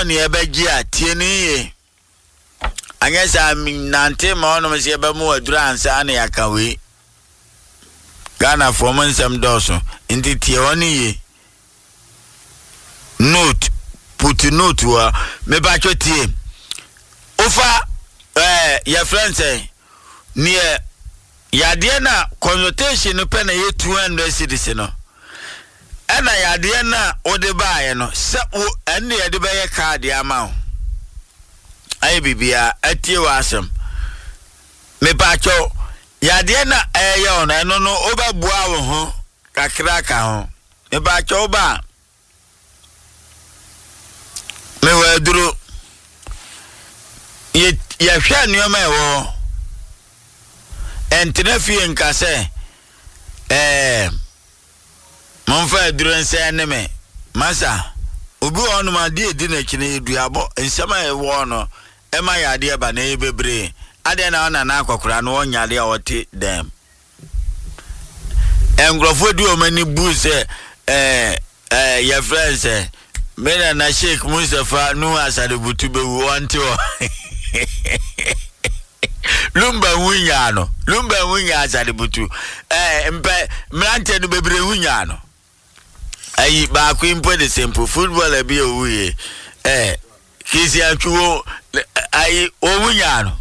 Yɛma wo nea ɛbɛgye a, tie no yie. Anyɛ saa nante ma ɔnom sɛ yɛbɛma wo aduru ansa na yɛaka wei. Ghanafoɔ mo nsɛm dɔɔso nti tie hɔ no yie. Note, put note wɔ mepatwo tie. Wofa ɛɛ yɛfrɛ no sɛ neɛ yadeɛ no a consultation no pɛ na ɛyɛ 200 cedis no ɛna yadeɛ no a wode baeɛ no sɛ wo ɛne yɛde bɛyɛ kaade ama wo ayɛ biribiara atie w'asɛm mepatwo yadeɛ no a ɛyɛ wo no ɛno no wobɛboa wo ho kakra ka ho mepatwo wo ba a Mewɔ aduro. Yɛ yɛhwɛ nneɛma a ɛwɔ hɔ. Ɛntena fie nka sɛ ɛɛ momfa aduro nsɛn ne me. Masa, obi wɔ hɔnom adeɛ edi n'akyi no yɛ duabɔ. Nsɛm a ɛwɔ hɔ no ɛma yɛ adeɛ ba na ɛyɛ bebree. Adeɛ na ɔnana akɔkora no ɔnyɛ adeɛ a ɔte dɛm. Nkurɔfoɔ di wɔn ani bu sɛ ɛɛ ɛɛ yɛfrɛ no sɛ me nana Sheikh Mustapha Nuhu Asare-Butu bɛwu ɔnte hɔ. Lumba ho nyaa no Lumba ho nyaa Asare-Butu ɛɛ mpɛ mmeranteɛ no bebree ho nyaa no. Ayi baako yi mpo de sɛ mpo footballer bi a owu yɛ ɛɛ Christian Twuwo ayi owu nyaa no.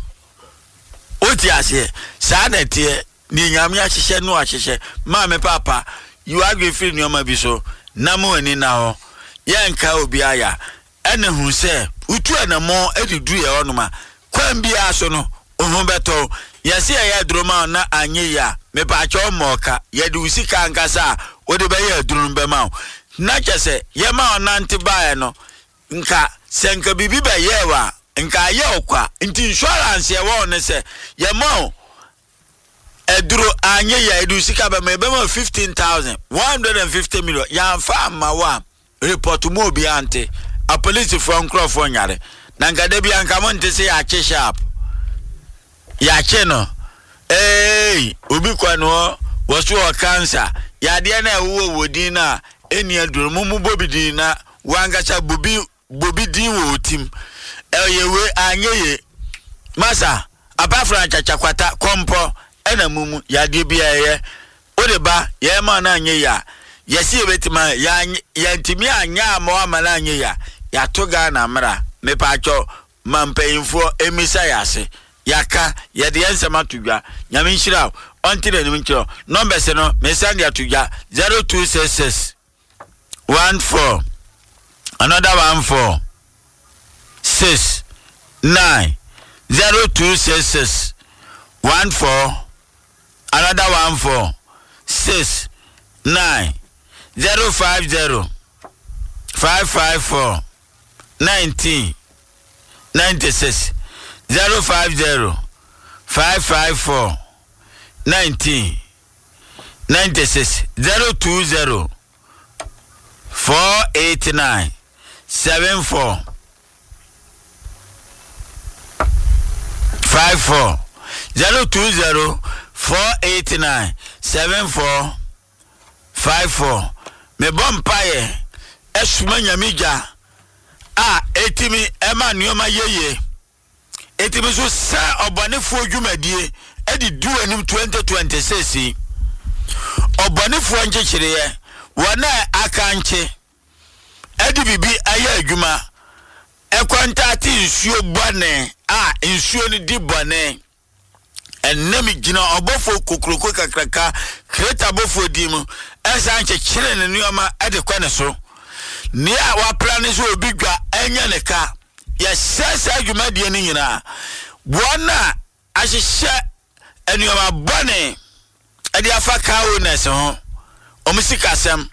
Wote aseɛ? Saa na ɛteɛ. Deɛ Nyame ahyehyɛ no ahyehyɛ. Maame paapa, yi w'adwene firi nneɛma bi so na ma w'ani nna hɔ. Yɛnka obiara ya. Ɛna hu sɛ wotu anammɔn de duru yɛn hɔnom a, kwan biara so no, wo ho bɛtɔ wo. Yɛse yɛyɛ aduro ma wo na anyɛ yie a, mepaakyɛw mmɔ ɔka. Yɛde wo sika ankasa a wode bɛyɛ aduro no bɛma wo. Na kyerɛ sɛ yɛma wo nante baeɛ no, Nka sɛ nka biribi bɛyɛɛ wo a, nka ayɛ wo kwa. Nti insurance a ɛwɔ hɔ ne sɛ, yɛma wo aduro, anyɛ yie a, yɛde wo sika bɛma, yɛbɛma wo 15,000, 150 million. Yɛamfa amma wo a, report ma obiara nte. Apolisifoɔ nkorɔfoɔ nyare. Na nka da biara nka monte sɛ yɛakye sharp. Yɛakye no. Eei, obi kɔ no hɔ, wɔso wɔ cancer. Yadeɛ no a ɛwowɔ wɔ din no a ɛnni aduro no, mommobɔ bi din na wankasa bɔ bi bɔ bi din wɔ wo tim. Ɛyɛ wei anyɛ yie. Masa, apafra nkyakyakwata, kɔmpɔ, ɛna mumu, yadeɛ bi a ɛyɛ. Wode ba, yɛma no anyɛ yie a, yɛse yɛbɛtumi ayɛ, yɛanyɛ, yɛntumi anyɛ amma wo ama no anyɛ yie a, yɛato Ghana mmara. Mepaakyɛw, ma mpanyimfoɔ mmisa yɛn ase. Yɛaka, yɛde yɛn nsɛm ato dwa. Nyame nhyira wo, ɔnte n'anim nkyerɛ wo. Numbers no, mesan de ato dwa, 0266 14 another 14 6 9 0266 14 another 14 6 9 050 554 19 96 050 554 19 96 020 489 74 54 020 489 74 54 Mebɔ mpaeɛ soma Nyame gya a ɛtumi ma nneɛma yɛ yie, ɛtumi nso sɛ ɔbɔnefoɔ dwumadie de di w'anim 2026 yi. Ɔbɔnefoɔ nkyekyereɛ, wɔn a akankye de biribi ayɛ adwuma, ɛkɔntate nsuo bɔne a nsuo no di bɔne. Ɛnnɛ megyina ɔbɔfoɔ kokuroko kakraka Kreta bɔfoɔ din mu ɛsan kyekyere ne nneɛma de kɔ ne so. Nea wapra ne sɛ obi dwa ɛnyɛ ne ka. Yɛsɛe saa dwumadie no nyinaa. Wɔn a ahyehyɛ nneɛma bɔne de afa car owners ho, wɔn sikasɛm,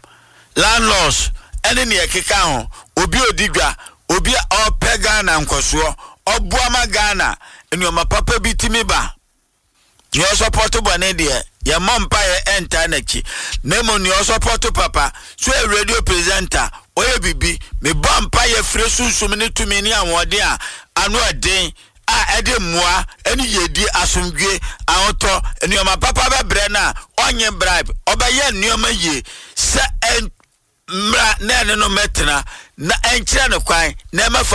landlords ne nea ɛkeka ho, obi a ɔdi dwa, obi a ɔrepɛ Ghana nkɔsoɔ, ɔboa ma Ghana nneɛma papa bi tumi ba. Nea ɔsɔpɔto bɔne deɛ, yɛmmɔ mpaeɛ ɛntaa n'akyi, na mmom nea ɔsɔpɔto papa, so yɛ radio presenter, ɔyɛ biribi, mebɔ mpaeɛ firi sunsum ne tumi ne ahoɔden a ano ɛden a ɛde mmoa ne yiedie, asomdwoe, ahotɔ, nneɛma papa bɛbrɛ no a ɔnnye bribe, ɔbɛyɛ nneɛma yie sɛ ɛmmra na ɛne no mmɛtena na ɛnkyerɛ no kwan na ɛmɛfa.